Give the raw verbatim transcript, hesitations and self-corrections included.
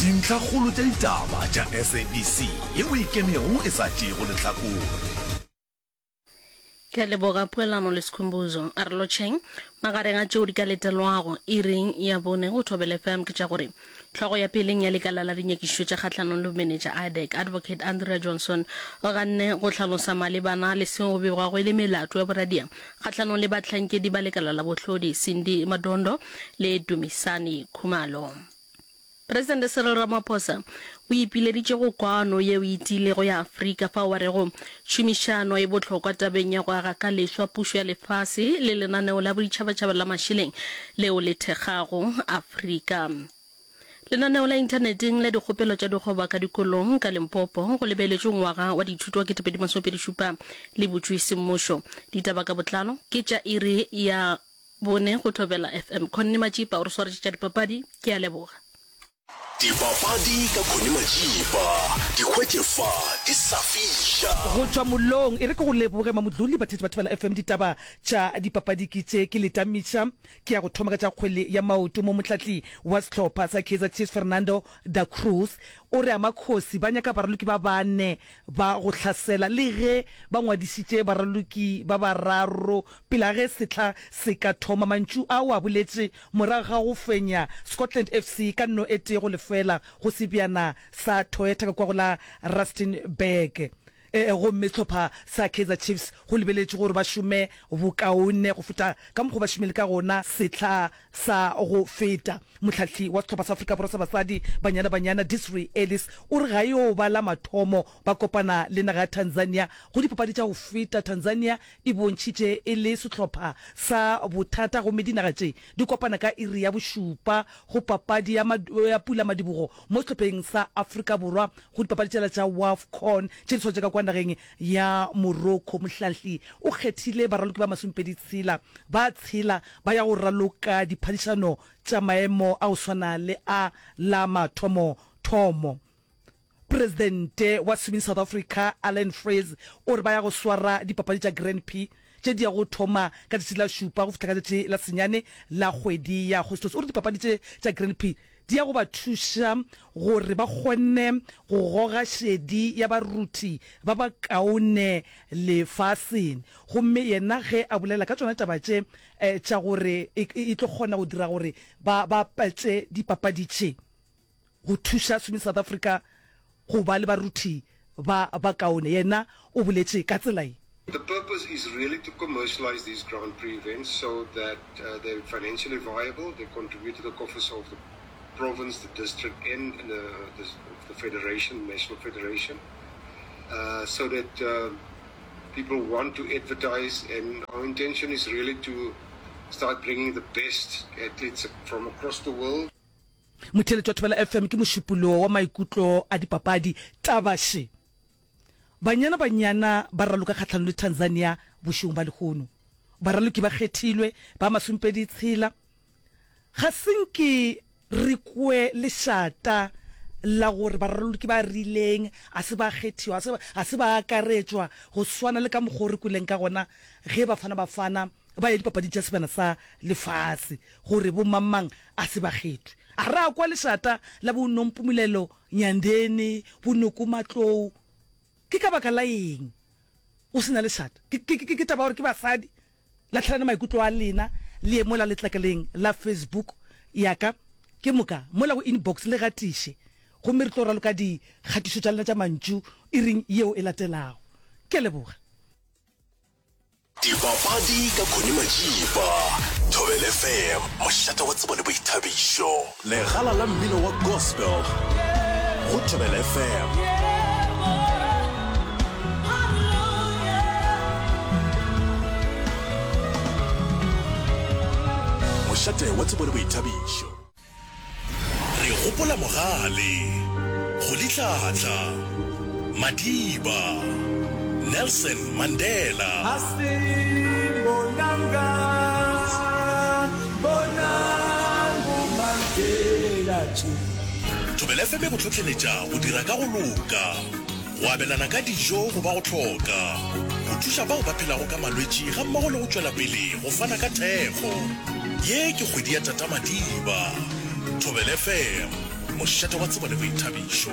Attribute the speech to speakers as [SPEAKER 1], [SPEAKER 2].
[SPEAKER 1] Dintlhakgolo tša ditaba tša S A B C yeo e ikemego e sa tšeego lehlakore.
[SPEAKER 2] Ke a leboga Poelano le Skhumbuzo. A re lotšheng. Magareng a tšeo di ka letelwago iring ya bone go Thobela F M ke tša gore hlogo ya peleng ya lekala la dinyakišišo tša kgahlanong le bomenetša I D A C, Advocate Andrea Johnson o ganne go hlalosa malebana le seo go begwago e le melato ya boradia kgahlanong le bahlankedi ba lekala la bohlodi Cindy Madondo le Dumisani Khumalo. Presidente Cyril Ramaphosa o ipileditše go kwano yeo e tiilego ya Afrika fao a rego tšhomišano e bohlokwa tabeng ya go aga ka leswa pušo ya lefase le lenaneo la boditšhabatšhaba la mašeleng leo le thekgago Afrika. Lenaneo la inthaneteng la dikgopelo tša dikgoba ka dikolong ka Limpopo go lebeletšwe ngwaga wa dithuto wa kete pedi masomepedi šupa le butšwe semmušo. Ditaba ka botlalo ke tša iri ya bone go Thobela F M. Connie Matšipa o re swaretše tša dipapadi. Ke a leboga.
[SPEAKER 1] Dipapadi ka Connie Matšipa, di hwetše fa di sa fiša.
[SPEAKER 3] Go tšwa mollong, e re ke go leboge Mamodluli, batheetši ba Thobela F M, ditaba tša dipapadi ke tše ke le tamiša. Ke ya go thoma ka tša kgwele ya maoto mo mohlatli wa sehlopha sa Kaizer Chiefs Fernando Da Cruz o re Amakhosi ba nyaka baraloki ba bane ba go hlasela le ge ba ngwadišitše baraloki ba bararo pele ga ge sehla se ka thoma. Mantšu a o a boletše morago ga go fenya Scotland F C ka nno e tee go lefela go sebjana sa Toyota ka kua go la Rustenburg. Gomme sehlopha sa Kaizer Chiefs go lebeletšwe gore ba šome bokaone go feta ka mokgwa ba šomile ka gona sehla sa go feta. Mohlahli wa sehlopha sa Afrika Borwa sa basadi, Banyana Banyana, Desiree Ellis o re ga yo ba la mathomo ba kopana le naga ya Tanzania go dipapadi tša go feta. Tanzania e bontšhitše e le sehlopha sa bothata gomme dinaga tše di kopana ka iri ya bošupa go papadi ya ya pulamadibogo mo sehlopheng sa Afrika Borwa go dipapadi tšela tša WAFCON tše di swaretswe ka kwa nageng ya Morocco. Mohlahli o kgethile baraloki ba masomepedi tshela ba tshela ba ya go raloka diphadišano tša maemo a go swana le a la mathomo thomo. Presidente wa Swimming South Africa Allan Freese o re ba ya go swara dipapadi tša Grand Prix tše di ya go thoma ka tšatši la šupa go fihla ka tšatši la senyane la kgwedi ya Agostose. O re dipapadi tše tša Grand Prix di ya go ba thuša gore ba kgone go goga šedi ya baruti ba ba kaone lefaseng. Gomme yena ge a bolela ka tšona taba tše tša gore e tlo kgona go dira gore ba bapatše dipapadi tše go thuša Swimming South Africa go ba le baruti ba ba kaone, yena o boletše ka tsela ye.
[SPEAKER 4] The purpose is really to commercialize these Grand Prix events so that uh, they're financially viable, they contribute to the coffers of the province, the district, and the, the, the federation, national federation, uh, so that uh, people want to advertise. And our intention is really to start bringing the best athletes from across the world.
[SPEAKER 3] Motheeletši wa Thobela F M ke mošupologo wa maikutlo a dipapadi. Taba še, Banyana Banyana ba raloka kgahlanong le Tanzania bošegong ba lehono. Baraloki ba kgethilwe ba masomepedi tshela. Ga se nke re kwe lešata la gore baraloki ba rileng a se ba kgethiwa, a se, a se ba akaretšwa go swana le ka mokgwa o re kweleng ka gona ge Bafana Bafana ba ya dipapading tša Sebjana sa Lefase gore bo mang-mang a se ba kgethwe. A ra kwa lešata la bo Nompumulelo Nyandeni, bo Noko Matlou. Ke ka baka la eng go se na lešata? Ke, ke, ke, ke taba ya gore ke basadi? Lahlelana maikutlo a lena le ye mola letlakaleng la Facebook ya ka, ke moka mola go inbox le gatiše gomme re tlo raloka dikgatišo tša lena tša mantšu iring yeo e latelago. Ke a leboga.
[SPEAKER 1] Dipapadi ka Connie Majiba, Thobela F M, mošate wa tsebo le boithabišo. Legala la mmino wa gospel go Thobela F M. Mošate wa tsebo le boithabišo. Re gopola mogale, Rolihlahla, Madiba, Nelson Mandela. Thobela F M e go hlohleletša go dira ka go loka, go abelana ka dijo go ba go hloka, go thuša bao ba phelago ka malwetši gammogo le go tšwela pele go fana ka thekgo. Ye ke kgwedi ya Tata Madiba. Thobela F M, Mošate wa tsebo le boithabišo.